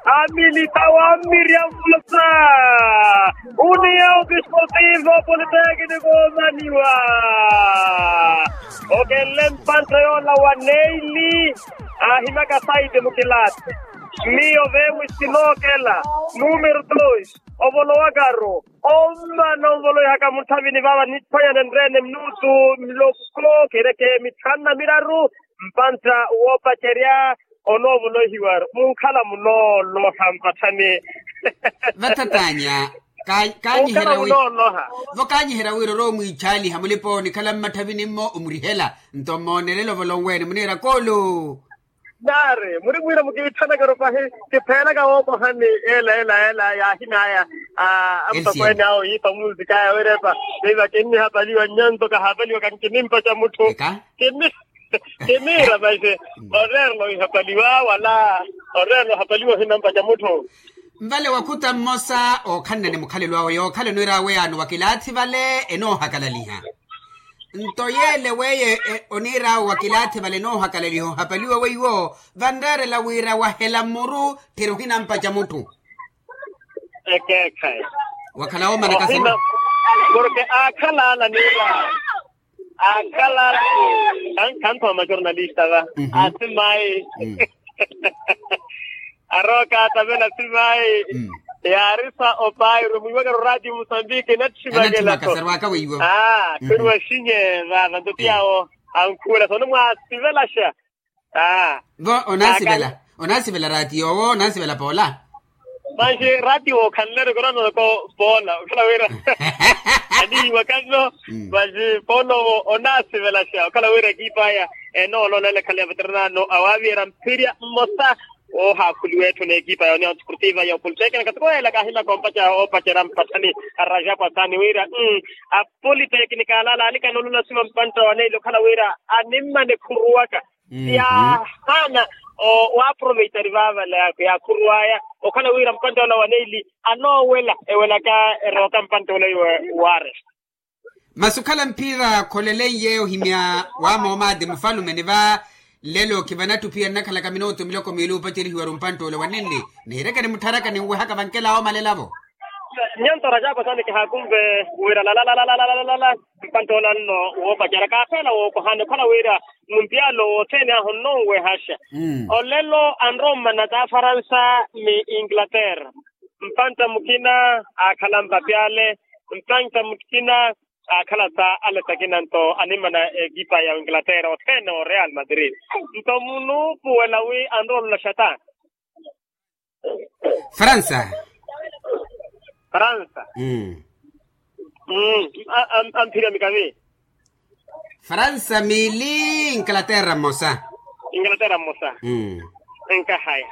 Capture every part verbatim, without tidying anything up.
Amilita wa mmirya mmosa. Uniya okisportivo politekniko omaniwa. Okenle mpantta yoola wa neili. Aahimyaka saiti mukilaathi. Miyo vemwi sinookela. Numero dos. Ovolo wakaru. Ommana onvoloihaka mutthavini vaava niphwanya nenreene minutu miloko kereke mitthanu na miraru. Mpantta woopacerya onoovoloihiwa munkhala munooloha mpatthani. Vattatanya. Kaanyiherya wi. Vo kaanyiherya wira orowa omwiichaaliha mulipa onikhala mmatthavini-mmo omurihela. Nto mmoonelela ovolonweene muniira koolu. Naari muri mwiira mukiitthanaka-ro pahi. Kipheelaka wookohani ela ela ela yaahinaya. Amutokweene awo yiipa munzikaya wirepa. Veiva kinnihapaliwa nnyanto kahapaliwa kankinimpaca mutthu. Kini kiniira vaxe. Oreerela ohapaliwa wala oreerela ohapaliwa ohinampaca mutthu. Nvale wakhuta mmosa ookhanna ni mukhalelo awe yookhala oniira awe yaano wa kilaathi vale enoohakalaliha. Nto yeele weyo oniira awe wa kilaathi vale enoohakalaliha ohapaliwa weiwo vanreerela wira wahela mmuru. Tthiri ohinampaca mutthu. Ekeekhayi. Wakhala woomana kasema. Porke aakhala ala niira. Aakhala ala. Khanthoma jornalista va. Asimayi. Arooka atavela asimayi. Yaarisa opairu mwiiwakero ratio musambiki natthimakaserwaka weiwo. Khwiruwa xinye vava nto tiyawo. Ankhuwela sono mwaasivelaxa. Vo onaasivela onaasivela ratio owo onaasivela poola. Manxi ratio okhanleru korono ko poola okhala wira anihiwa kanno. Manxi poola owo onaasivelaxa okhala wira ekipa aya enoololela ekhale ya veteranano awaaviyera mphirya mmosa. Oohaakhuliwa etthu n'ekipa ya union sportiva ya opoliteknika katikoyela kaahimaka ompacerya mpatthani. Araja kwasani wira apoliteknika ala alaalikana olola sima mpantta wa neili okhala wira animmana ekhuruwaka. Yaahaana waaproveitari vaavale yaakhuruwaya okhala wira mpantta ola wa neili anoowela ewelaka erooka mpantta ola wa wares. Masi okhala mphira kholeleiye ohimya wa moomaati mufalume ni va nlelo khivanatthi ophiya nnakhalaka minutu miloko miili opacerihiwaru mpantta ole wa nenli. Nihirekeni muttharakani nwehaka vankela oomalelavo. Nyanto rajako sani kihaakunve wira lalalalalala. Mpantta ola nno woopacerya kaapeela wookohani okhala wira muntiyalo wothene ahu nnonwehaxa. Olelo anrowa mmana t'afaransa ni inglaterra. Mpantta mukina aakhala mpapyale. Mpantta mukina aakhala sa alesakina nto animmana ekipa ya inglaterra othene o real madrid. Nto munuupuwela wi anrowa olaxa ta. Faransa. Faransa. Amphirya mikavi. Faransa miili inglaterra mmosa. Inglaterra mmosa. Nkahaya.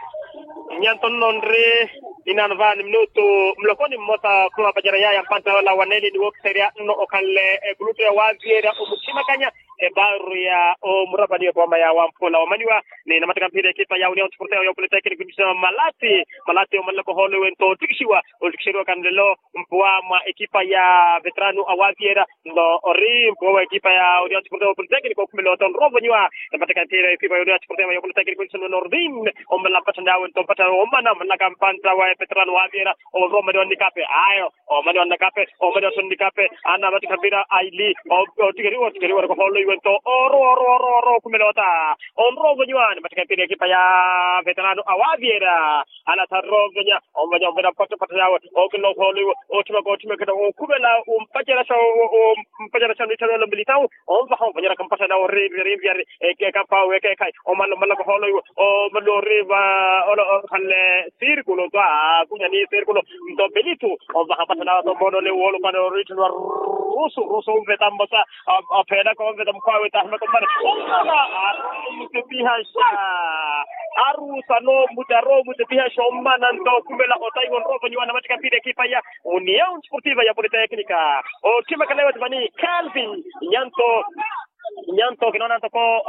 Nyanto nno nri inaano vaani minutu mulokoni mmosa khumapacera yaya mpantta yola wa neli ni wookiserya nno okhanle ekulutu ya waaviyeerya omuthimakanya. Eparu ya omurapani yokooma ya wamphula omaniwa ni namattika mphira ekipa ya union sporteo ya opolitekniko nisa malati. Malati omanlaka ohoolo iwe nto otikixiwa otikixeriwa kanlelo mpuwa mwa ekipa ya veterano awaviyeerya. Nto ori mpuwa wa ekipa ya union sporteo ya opolitekniko okhumela ota onrowa ovonyiwa. Namattika mphira ekipa ya union sporteo ya opolitekniko nisa nordin. Omala mpatthani awe nto mpatthani omana omanlaka mpantta wa epeterano waviyeerya. Onrowa omaniwa nnikape ayo. Omani wa nnakape. Omani wa nnikape. Ana matikha mpira aili. Otikeriwa otikeriwa otikeriwa otikeriwa otikeriwa otikeriwa okhumela ota. Onrowa ovonyiwa ni matikha mpira ekipa ya veterano awaviera. Ana tharira ovonya ovonya ovonya mpatha mpatha yawe. Okina okholoiwa othimaka othimaka okhumela ompaceraxa. Ompaceraxa nithanelo militawu. Onvaha onvanyeraka mpatha nawe orinvya rinvya ri. Ekeka mpawe ekeka. Omala omala kohoolo iwo. Omala oriva. Ola okhanle sirkulo twa. Kunya ni sirkulo. Nto pelitu onvaha mpatha nawe tombono le wolo pana orithu nwa. Rusu rusu onveta mmosa. Ophelaka onveta mukwawe tahima tombana. Omala. Arusu mutepihaxa. Arusu anomuti aromutepihaxa omana nto okhumela otaiwa onrovo nyiwana matika mpira ekipa ya union sportiva ya politeknika. Othimaka lewe tivani kelvin. Nyanto. Nyanto kinoona ntoko.